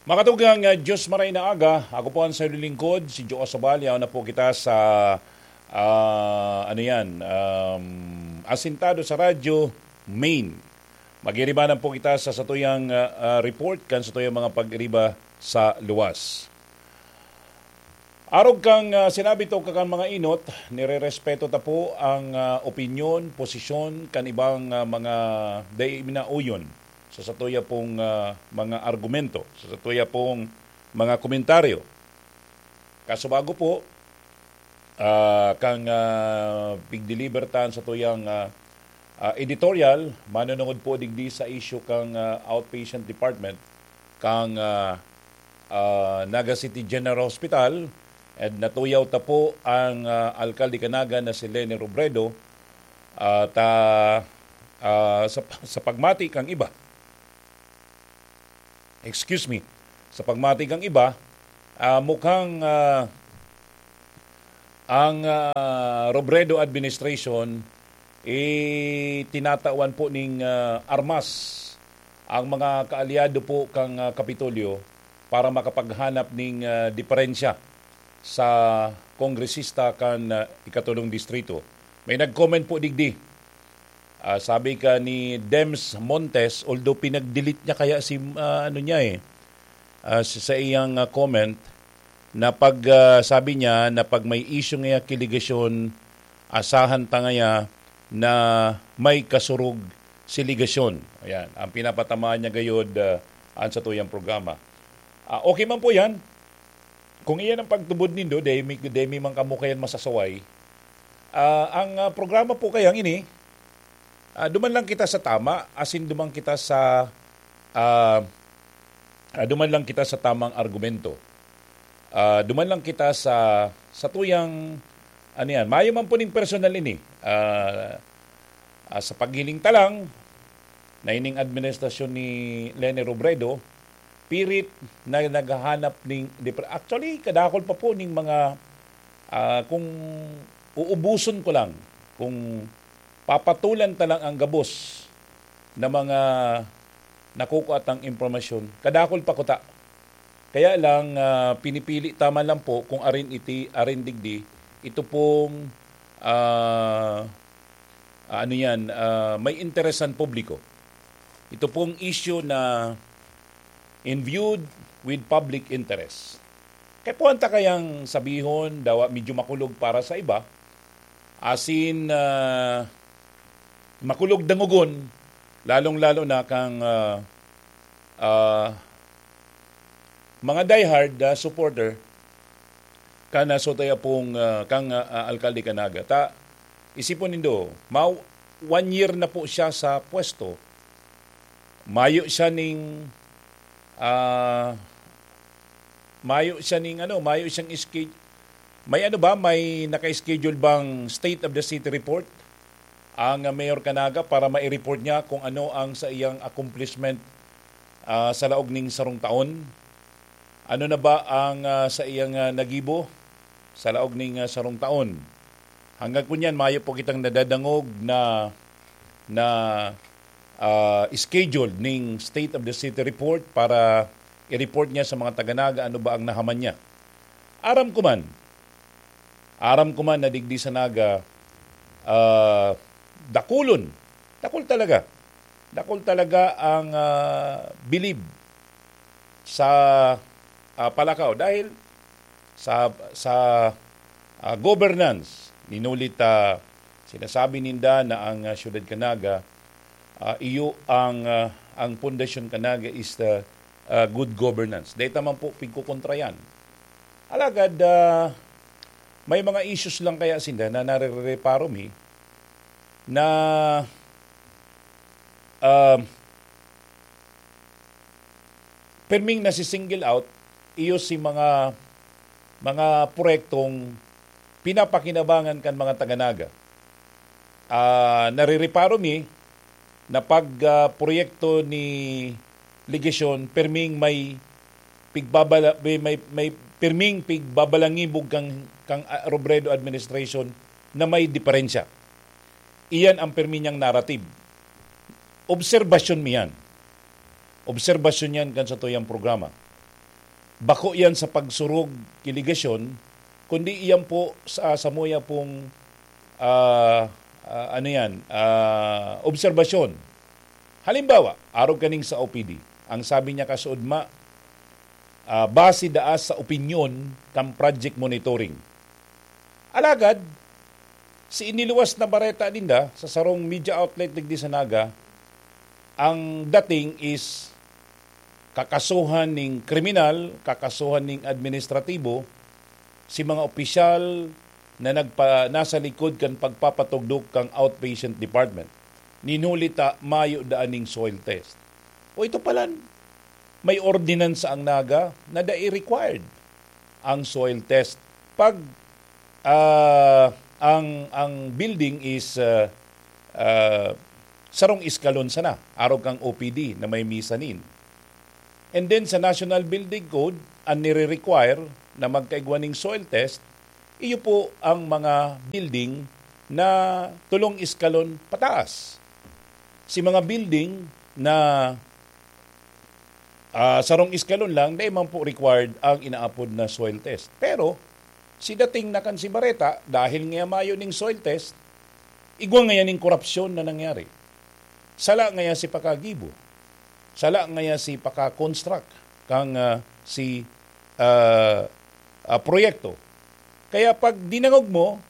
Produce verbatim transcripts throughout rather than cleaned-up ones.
Makatugang, ah, Diyos maray na aga. Ako po ang sayo lingkod, si Joe Asobal. Yaon na po kita sa, ah, ano yan, um, asintado sa radyo, main. Magiribanan po kita sa satuyang, ah, ah, report kan satuyang mga pagiriba sa luwas. Arog kang, ah, sinabi to, kakan mga inot, nirerespeto ta po ang, ah, opinyon, posisyon kan ibang, ah, mga dai minauyon sa satuya pong, ah, mga argumento, sa satuya pong mga komentaryo. Kaso bago po, ah, kang, ah, pigdeliver tan satuyang, ah, ah, editorial, manunungod po digdi sa issue kang, ah, outpatient department kang, ah, ah, Naga City General Hospital, and natuyaw ta po ang, ah, alkalde kan Naga na si Leni Robredo, ah, ta, ah, sa, sa pagmati kang iba. Excuse me. Sa pagmati kang iba, ah, mukhang, ah, ang, ah, Robredo administration, eh, tinatawan po ning, ah, armas ang mga kaalyado po kang, ah, Kapitolyo para makapaghanap ning, ah, diferensya sa kongresista kan, ah, ikatulong distrito. May nag-comment po digdi. Ah, sabi ka ni Dems Montes, although pinag-delete niya kaya si, ah, ano niya eh, ah, sa, sa iyang, ah, comment, na pag, ah, sabi niya na pag may issue ngaya ki legasyon, asahan ta ngaya na may kasurog si legasyon. Ayan, ang pinapatamaan niya gayod, ah, an satuyang programa. Ah, okay man po yan. Kung iyan ang pagtubod nindo, dai mi, dai mi man kamo kayan masasaway. Ah, ang, ah, programa po kayang ini, ah, duman lang kita sa tama, asin duman kita sa, ah, ah, duman lang kita sa tamang argumento. Ah, duman lang kita sa, sa tuyang, ano yan, mayo man po ning personal ini. Ah, ah, sa paghiling ta lang, na ining administrasyon ni Leni Robredo, pirit na naghahanap ning dipre-, actually, kadakol pa po ning mga, ah, kung uubuson ko lang, kung papatulan ta lang ang gabos na mga nakukuha tang impormasyon, kadakol pa kuta. Kaya lang, ah, pinipili ta man lang po kung arin iti, arin digdi, ito pong, ah, ah, ano yan, ah, may interesan publiko. Ito pong issue na imbued with public interest. Kaya po ang ta kayang sabihon, dawa medyo makulog para sa iba, asin, ah, makulog dangogon, lalong-lalo na kang, ah, ah, mga diehard, ah, supporter kan, ah, Sotay Apong, ah, kang, ah, ah, alkalde kan Naga. Ta, isipon nindo, ma-, one year na po siya sa pwesto. Mayo siya ning, ah, mayo siya ning ano, mayo siyang ske-, may ano ba, may naka-schedule bang State of the City report ang, ah, Mayor kan Naga para mai-report niya kung ano ang sa iyang accomplishment, ah, sa laog ning sarong taon? Ano na ba ang, ah, sa iyang, ah, nagibo sa laog ning, ah, sarong taon? Hanggang kunyan, mayo po kitang nadadangog na, na, ah, scheduled ning State of the City report para i-report niya sa mga taga Naga ano ba ang nahaman niya. Aram ko man, aram ko man na digdi sa Naga, ah, dakulon, dakul talaga, dakul talaga ang, ah, bilib sa, ah, palakaw. Dahil sa, sa, ah, governance, ninulit, ah, sinasabi ninda na ang, ah, siyudad kan Naga, ah, iyo ang, ah, ang pundasyon kan Naga is the, ah, good governance. Dahil taman po, pigkukontra yan. Alagad, ah, may mga issues lang kaya sinda na narereparo mi na, ah, perming nasi-single out, iyo si mga, mga proyektong pinapakinabangan kan mga taga Naga. Ah, narireparo mi na pag, ah, proyekto ni legasyon, perming may pigbabala-, may, may, may perming pigbabalangibog kang, kang, ah, Robredo administration na may diferensya. Iyan ang permi niyang narrative. Obserbasyon mi yan. Obserbasyon yan kan satuyang programa. bako yan sa pagsurog ki Legacion, kundi iyan po sa, samuya pong, ah, ah, ano yan, ah, obserbasyon. Halimbawa, arog kaning sa O P D, ang sabi niya kasuodma, ah, base daa sa opinyon kan project monitoring. Alagad, si iniluwas na bareta ninda sa sarong media outlet digdi sa Naga, ang dating is kakasuhan ning kriminal, kakasuhan ning administratibo, si mga opisyal na nagpa-, nasa likod kan pagpapatugdok kan outpatient department. Nin huli ta, mayo daa ning soil test. O ito palan, may ordinansa ang Naga na dai required ang soil test. Pag, ah, ang, ang building is, ah, ah, sarong eskalon sana, arog kang O P D na may mezzanine. And then sa National Building Code, ang nire-require na magkaigwa ning soil test, iyo po ang mga building na tulong eskalon pataas. Si mga building na, ah, sarong eskalon lang, dai man po required ang inaapod na soil test. Pero, si dating na kan si Bareta, dahil ngaya mayo ning soil test, igwa ngaya ning korupsyon na nangyari. Sala ngaya si pakagibo. Sala ngaya si paka-construct kang, ah, si, ah, ah, proyekto. Kaya pag dinangog mo,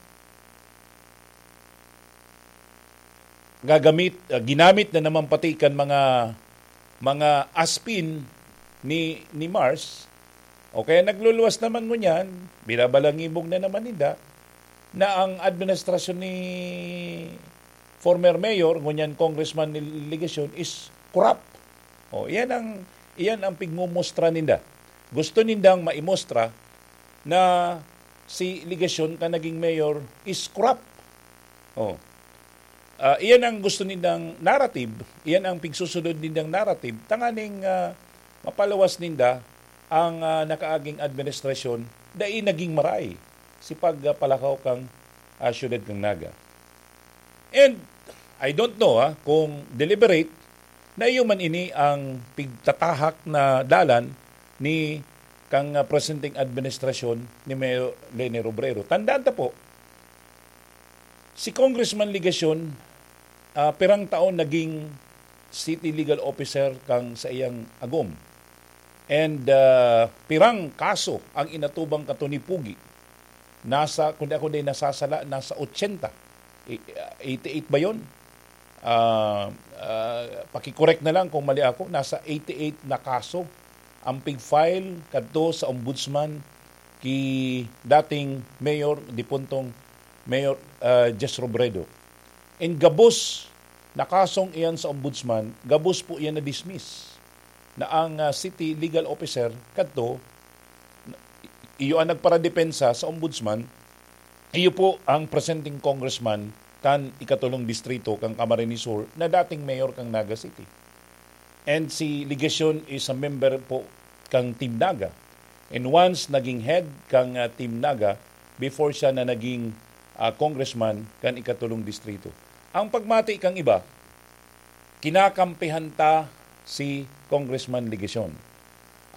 gagamit, ah, ginamit na naman pati kan mga, mga aspin ni, ni Mars, o kaya nagluluwas naman ngunyan, binabalangibog na naman ninda, na ang administrasyon ni former mayor, ngunyan congressman ni Legacion, is corrupt. O, iyan ang, iyan ang pigmumostra ninda. Gusto nindang maimostra na si Legacion ka naging mayor is corrupt. O. Ah, iyan ang gusto nindang narrative, iyan ang pigsusunod nindang narrative, tanganing, ah, mapaluwas ninda ang, ah, nakaaging administrasyon, dai naging maray si pagpalakaw kang, ah, siyudad kang Naga. And I don't know, ah, kung deliberate na iyo man ini ang pigtatahak na dalan ni kang, ah, presenteng administrasyon ni Mayor Leni Robredo. Tandaan ta po, si Congressman Legacion, ah, pirang taon naging city legal officer kang saiyang agom. And, ah, pirang kaso ang inatubang kato ni Pogi. Nasa, kung di ako di nasasala, nasa ochenta. I-, eighty-eight ba yun? Ah, ah, paki-correct na lang kung mali ako. Nasa eighty-eight na kaso ang pig-file kadto sa ombudsman ki dating mayor, dipuntong Mayor, ah, Jess Robredo. And gabos na kasong iyan sa ombudsman, gabos po iyan na-dismiss. Na ang, ah, city legal officer kadto, iyo ang nagparadepensa sa ombudsman, iyo po ang presenteng congressman kan ikatulong distrito kan Camarines Sur na dating mayor kan Naga City. And si Legacion is a member po kang Team Naga. And once naging head kang, ah, Team Naga, before siya na naging, ah, congressman kan ikatulong distrito. Ang pagmati kang iba, kinakampihan ta si Congressman Legacion.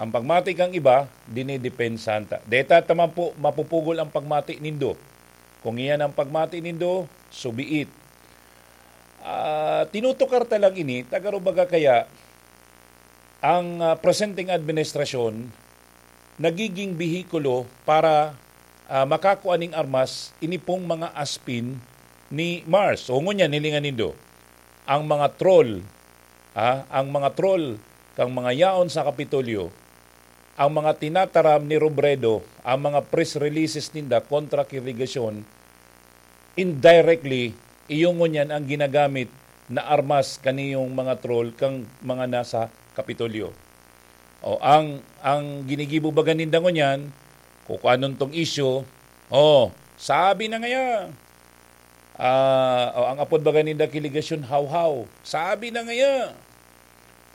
Ang pagmati kang iba, dinidepensahan ta. Deta ta man po mapupugol ang pagmati nindo. Kung iyan ang pagmati nindo, so be it. Ah, tinutukar ta lang ini, ta garo baga kaya ang, ah, presenteng administrasyon nagiging behikulo para, ah, makakua ning armas ini pong mga aspin ni Mars. O ngunyan, hilingan nindo, ang mga troll, ah, ang mga troll kang mga yaon sa Kapitolyo, ang mga tinataram ni Robredo, ang mga press releases ninda kontra ki Legacion, indirectly, iyo ngunyan ang ginagamit na armas kaniyong mga troll kang mga nasa Kapitolyo. O, ang, ang ginigibo baga ninda ngunyan, kung anon tong isyu, o, sabi na ngaya, ah, o, ang apod baga ninda ki Legacion, hawhaw. Sabi na ngaya,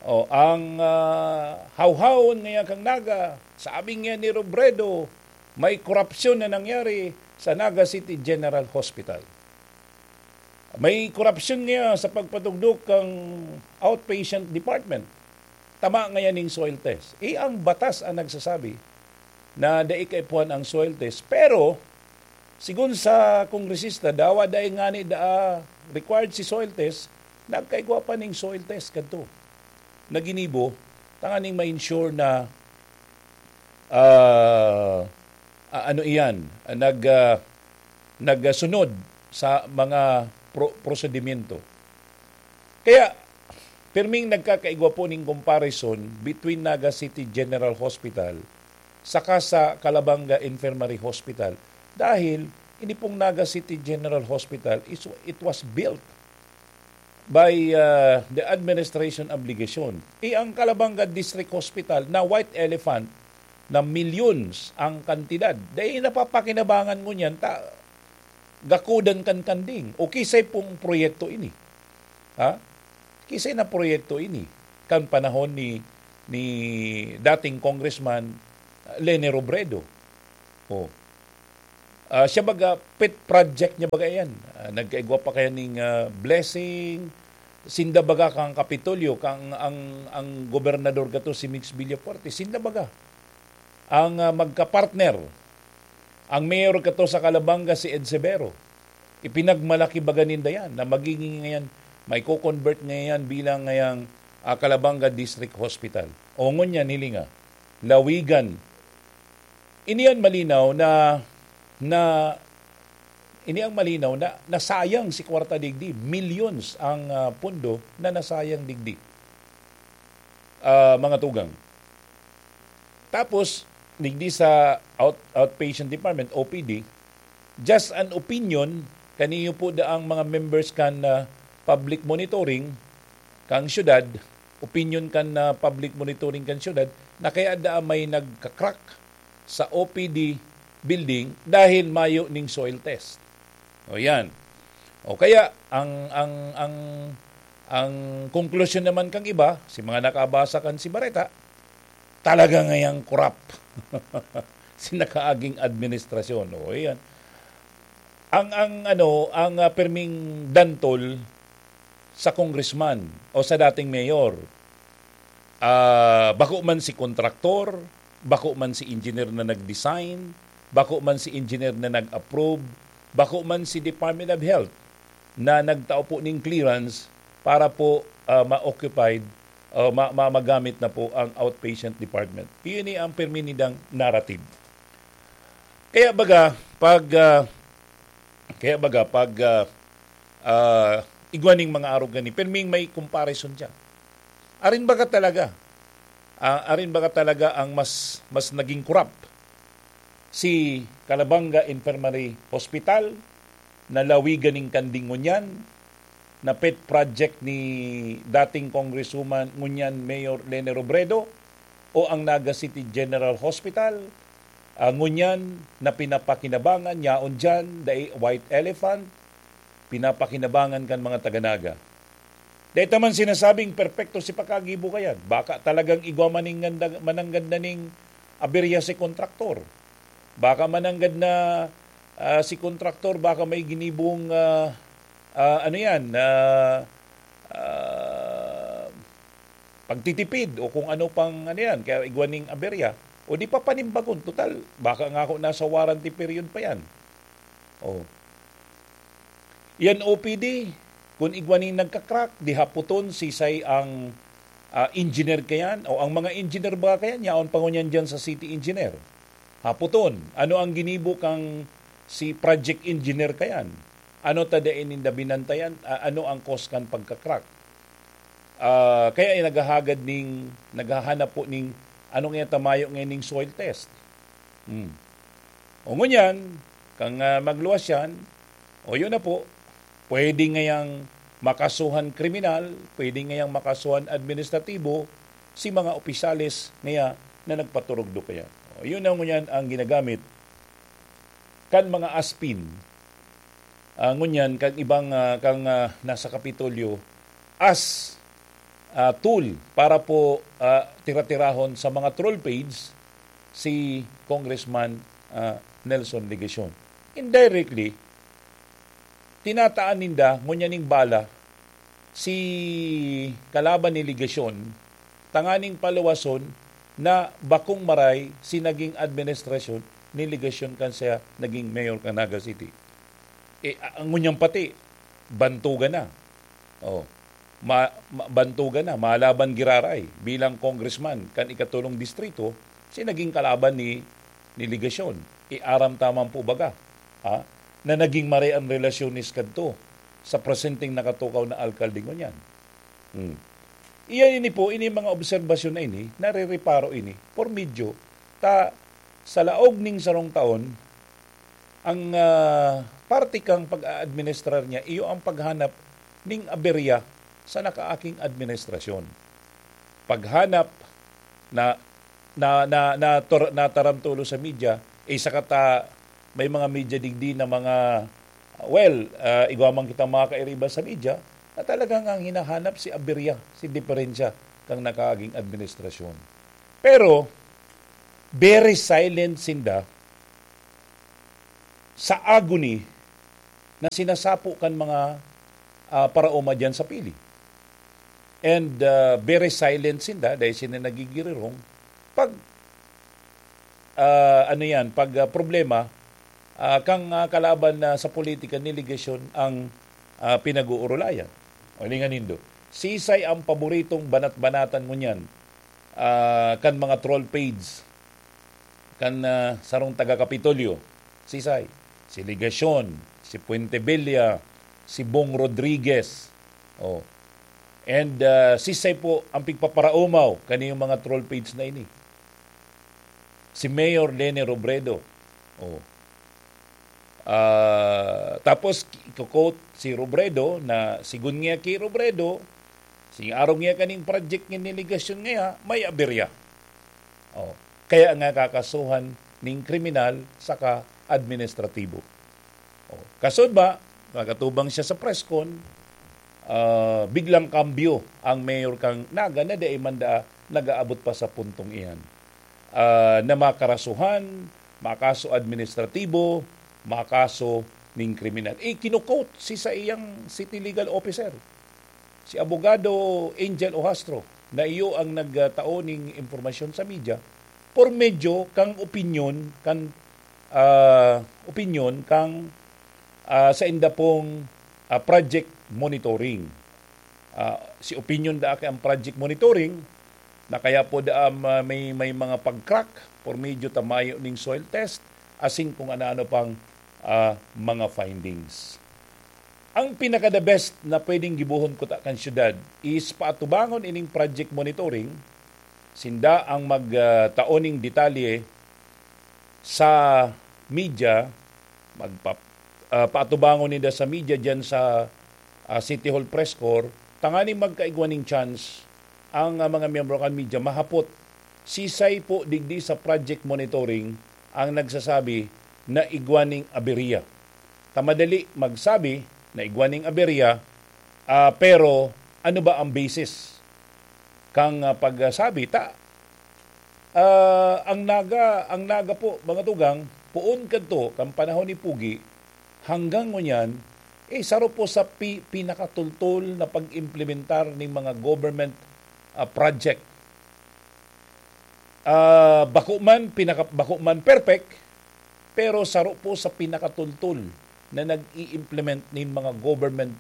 o, ang, ah, hawhawon ngaya kang Naga, sabi ngaya ni Robredo, may korupsyon na nangyari sa Naga City General Hospital. May korupsyon ngaya sa pagpatugdok kang outpatient department. tama ngayan ning soil test. Eh, ang batas ang nagsasabi na dai kaipuhan ang soil test. Pero, sigon sa kongresista, dawa dai ngani daa required si soil test, nagkaigwa pa ning soil test kadto na ginibo, tanganing ma-ensure na, ah, ah, ano iyan, ah, nag, ah, nagsunod sa mga pro-, prosedimento. Kaya, pirming nagkakaigwa po ning comparison between Naga City General Hospital saka sa Calabanga Infirmary Hospital. Dahil, ini pong Naga City General Hospital, is, it was built by, ah, the administration of Legacion. Eh, ang Calabanga District Hospital na white elephant na millions ang kantidad, dai napapakinabangan ngunyan ta gakudan kan kanding. O kisay pong proyekto ini. Ha? Kisay na proyekto ini kan panahon ni, ni dating Congressman, ah, Leni Robredo. Oh. Ah, siya baga, pet project niya baga yan. Ah, nagkaigwa pa kaya ning, ah, Blessing. Sinda baga kang Kapitolyo, kang ang, ang gobernador gato si Mix Villafuerte. Sinda baga ang, ah, magka-partner. Ang mayor gato sa Calabanga, si Ed Severo. Ipinagmalaki baga ninda yan na magiging ngayon, may co-convert ngayon bilang ngayang, ah, Calabanga District Hospital. O ngunyan, hilinga, lawigan. Ini an malinaw na, na, ini ang malinaw na nasayang si kwarta digdi. Millions ang, ah, pondo na nasayang digdi, ah, mga tugang. Tapos, digdi sa out-, outpatient department, O P D, just an opinion, kaniyo po daang mga members kan, ah, public monitoring, kang syudad, opinion kan, ah, public monitoring kan syudad, na kaya daa may nagka-crack sa O P D building dahil mayo ning soil test. O yan. O kaya, ang, ang, ang, ang konklusyon naman kang iba, si mga nakabasa kan si Bareta, talaga ngayang korap si nakaaging administrasyon. O yan. Ang, ang, ano, ang, ah, pirming dantol sa congressman o sa dating mayor, ah, bako man si kontraktor, bako man si engineer na nag-design, bako man si engineer na nag-approve, bako man si Department of Health na nagtao po ning clearance para po, ah, ma-occupied o ma-, ma-, magamit na po ang outpatient department. Iyon ni ang pirmi nindang narrative. Kaya baga, pag, ah, kaya baga, pag, ah, ah, igwa ning mga arog gani, pirming may comparison siya. Arin baga talaga, ah, arin baga talaga ang mas, mas naging korap? Si Calabanga Infirmary Hospital, na lawigan ning kanding ngunyan, na pet project ni dating Congresswoman ngunyan Mayor Leni Robredo, o ang Naga City General Hospital, ah, ngunyan na pinapakinabangan, yaon diyan, dai white elephant, pinapakinabangan kan mga taga-Naga. Dai ta man sinasabing perpekto si pagkagibo kayan. Baka talagang igwa maning ganda, mananggad na ning aberya si kontraktor. Baka mananggad na, ah, si kontraktor, baka may ginibong, ah, ah, ano yan, ah, ah, pagtitipid o kung ano pang ano yan, kaya igwa ning aberya. O di pa panimbagon, total, baka nga ako nasa warranty period pa yan. Oh. Yan O P D, kung igwa ning nagka-crack, di haputon sisay ang, ah, engineer kayan, o ang mga engineer ba kayan, yaon pa ngunyan dyan sa city engineer. Haputon, ano ang ginibo kang si project engineer kayan? Ano ta dai ninda binantayan? Ah, ano ang cause kan pagka-crack? Ah, kaya ay naghahagad ning, naghahanap po ning, ano nga tamayo ngayon ning soil test? Hmm. O ngunyan, kang, ah, magluwas yan, o yun na po, pwede ngayang makasuhan kriminal, pwede ngayang makasuhan administratibo, si mga opisyales ngaya na nagpaturugdok kaya. O, yun na ngunyan ang ginagamit kan mga aspin, ah, ngunyan kang ibang, ah, kang, ah, nasa Kapitolyo as, ah, tool para po, ah, tira-tirahon sa mga troll page si Congressman, ah, Nelson Legacion. Indirectly, tinataan ninda ngunyan ning bala si kalaban ni Legacion tanganing paluwason na bakong maray si naging administrasyon ni Legacion kan siya naging mayor kan Naga City. E, a-, ang ngunyan pati, bantugan na. Oh, ma-, ma-, bantugan na, malaban giraray bilang congressman kan ikatulong distrito, si naging kalaban ni, ni Legacion. Iaram taman po baga, ha? Na naging maray ang relasyones kadto sa presenteng nakatukaw na alkalde ngunyan. Hmm. Iyan ini po, ini mga obserbasyon na ini, narereparo ini, por medyo ta sa laog ning sarong taon, ang, ah, parte kang pag-aadministrar niya, iyo ang paghanap ning aberya sa nakaaking administrasyon. Paghanap na, na, na, na tor-, nataram tulo sa media, eh, saka ta, may mga media digdi na mga, well, ah, igwa man kitang mga kairiba sa media, na talagang ang hinahanap si aberya, si diferensya kang nakaaging administrasyon. Pero, very silent sinda sa agony na sinasapo kan mga, ah, paraoma diyan sa pili. And, ah, very silent sinda dahil sila nagigirirong pag, ah, ano yan, pag, ah, problema, ah, kang, ah, kalaban na sa politika ni Legacion ang, ah, pinag-uurulayan. O, hilingan nindo. Sisay ang paboritong banat-banatan ngunyan, ah, kan mga troll page, kan, ah, sarong taga-Kapitolyo? Sisay? Si Legacion, si Fuentebella, si Bong Rodriguez. Oh. And, ah, sisay po ang pigpaparaomaw kaniyong mga troll page na ini? Si Mayor Leni Robredo. Oh. Ah, tapos, i-quote si Robredo na, sigun niya ki Robredo, si arog niya kaning project ni Legacion ngaya, may aberya. Oh. Kaya nga kakasuhan ning kriminal saka administratibo. Oh. Kasod ba, makatubang siya sa press con, ah, biglang kambyo ang mayor kang Naga na dai man daa nag-aabot pa sa puntong iyan. Ah, na makarasuhan, makaso administratibo, makaso ning kriminal. Ikinukote si saiyang city legal officer, si Abogado Angel Ohastro, na iyo ang nagtao ning impormasyon sa media por medyo kang opinyon, kan, ah, opinyon kang, ah, sa inda pong, ah, project monitoring. Ah, si opinyon daa kay ang project monitoring na kaya po daa ma-, may, may mga pag-crack por medyo ta mayo ning soil test, asin kung ano-ano pang, ah, mga findings. Ang pinaka-the best na pwedeng gibohon kuta kan syudad is paatubangon ining project monitoring, sinda ang mag, ah, tao ning detalye sa media, magpa-, ah, paatubangon ninda sa media diyan sa, ah, City Hall Press Corps, tanganing magkaigwa ning chance ang, ah, mga miyembro kan media mahapot sisay po digdi sa project monitoring ang nagsasabi na igwa ning aberya. Ta madali magsabi na igwa ning aberya, ah, pero ano ba ang basis kang, ah, pagsabi? Ta, ah, ang Naga, ang Naga po, mga tugang, poon kadto, kan panahon ni Pogi, hanggang ngunyan, eh, saro po sa pi-, pinakatultol na pag-implementar ning mga government, ah, project. Ah, bako man, pinaka-, bako man perfect, pero saro po sa pinakatultol na nag-i-implement nin mga government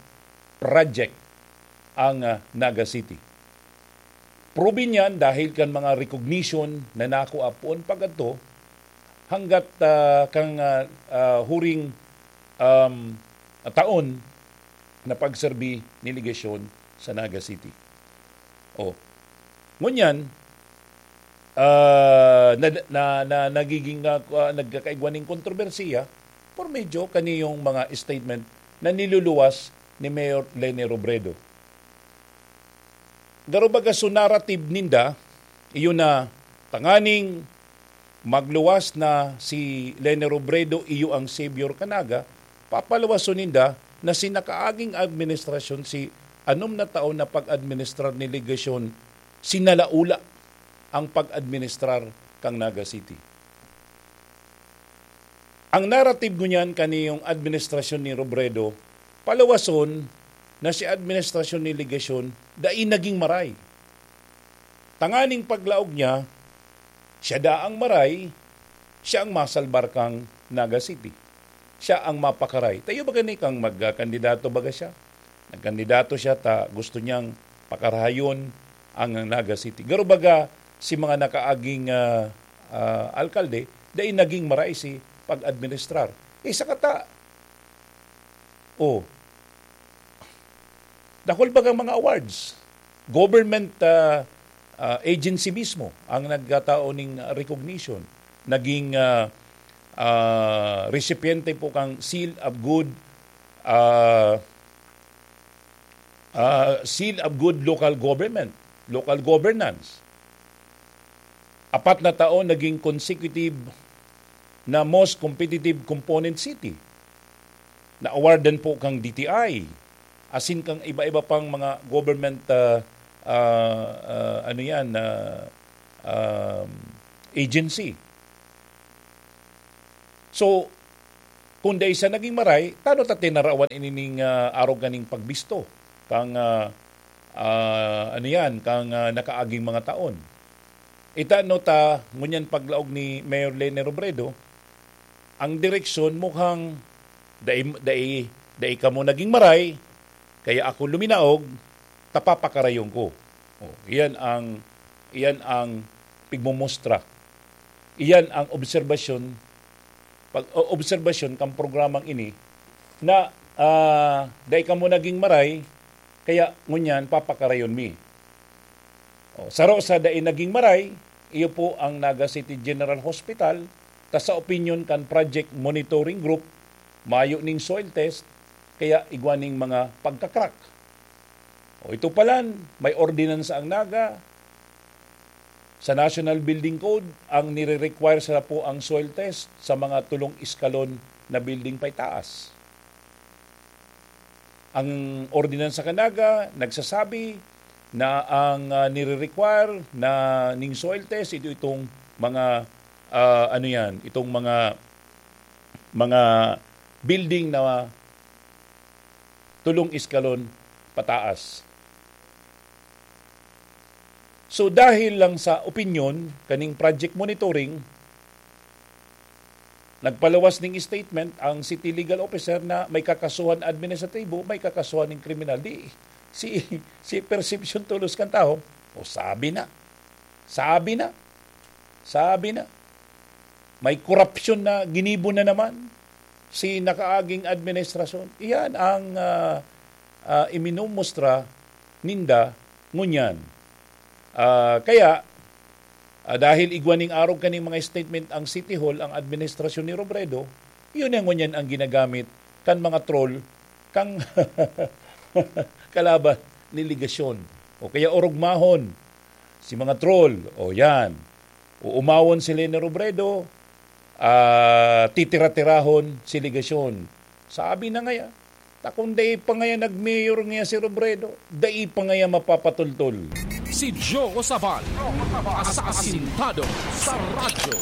project ang, ah, Naga City. Proven yan dahil kan mga recognition na nakua poon pag-adto hanggat, ah, kang, ah, ah, huring, um, taon na pagserbi ni Legacion sa Naga City. Oh. Ngunyan, ah, na, na, na, nagiging, ah, ah, nagkakaigwa ning kontrobersiya por medyo kaniyong mga statement na niluluwas ni Mayor Leni Robredo. Garo baga so narrative ninda, iyo na tanganing magluwas na si Leni Robredo, iyo ang savior kan Naga, papaluwason ninda na si nakaaging administrasyon, si anom na taon na pag-administrar ni Legacion, sinalaula ang pag-administrar kan Naga City. Ang narrative ngunyan kaniyong administrasyon ni Robredo, paluwason na si administrasyon ni Legacion dai naging maray. Tanganing paglaog niya, siya daa ang maray, siya ang masalbar kan Naga City. Siya ang mapakaray. Tayo ba gani kang magkandidato baga siya? Nagkandidato siya ta gusto niyang pakarayon ang Naga City. Garo baga si mga nakaaging, ah, ah, alkalde, dai naging maray si pag-administrar. Isa ka ta, oh, dakul bagang mga awards. Government, ah, ah, agency mismo ang nagkatao ning recognition. Naging, ah, ah, recipiente po kang Seal of Good, ah, ah, Seal of Good Local Government, Local Governance. Apat na taon naging consecutive na most competitive component city. Na-awardan po kang D T I, asin kang iba-iba pang mga government, ah, ah, ah, ano yan, ah, um, agency. So, kung dai siya naging maray, tano ta tinarawan inining, ah, arog kaning pagbisto kang, ah, ah, ano yan, kang, ah, nakaaging mga taon. Itano ta, ngunyan paglaog ni Mayor Leni Robredo, ang direksyon mukhang dai, dai, dai kamo naging maray, kaya ako luminaog, ta papakarayon ko. Oh, iyan ang, iyan ang pigmumostra. Iyan ang obserbasyon, pag, o-, obserbasyon kang programang ini na, ah, dai kamo naging maray, kaya ngunyan papakarayon mi. Oh, saro sa dai naging maray, iyo po ang Naga City General Hospital, ta sa opinyon kan Project Monitoring Group, mayo ning soil test, kaya igwa ning mga pagkakrak. O ito palan, may ordinansa ang Naga. Sa National Building Code, ang nire-require sa po ang soil test sa mga tulong iskalon na building paitaas. Ang ordinansa kan Naga nagsasabi na ang, ah, nire-require na ning soil test, ito itong mga, ah, ano yan, itong mga, mga building na tulong iskalon pataas. So, dahil lang sa opinyon kaning project monitoring, nagpalawas ning statement ang city legal officer na may kakasuhan administratibo, may kakasuhan ning kriminal. Di, si, si perception tulos kan tawo, "O, sabi na. Sabi na. Sabi na. May korupsyon na ginibo na naman si nakaaging administrasyon." Iyan ang, ah, ah, iminumustra ninda ngunyan. Ah, kaya, ah, dahil igwa ning arog kaning mga statement ang City Hall, ang administrasyon ni Robredo, yun ang ngunyan ang ginagamit kan mga troll, kang kalaban ni Legacion. O kaya orugmahon si mga troll. O yan. Uumawon si Leni Robredo, ah, titira-tirahon si Legacion. Sabi na ngaya, ta kung dai pa ngaya nag-mayor ngaya si Robredo, dai pa ngaya mapapatultol. Si Joe Sabal, asasintado sa radyo.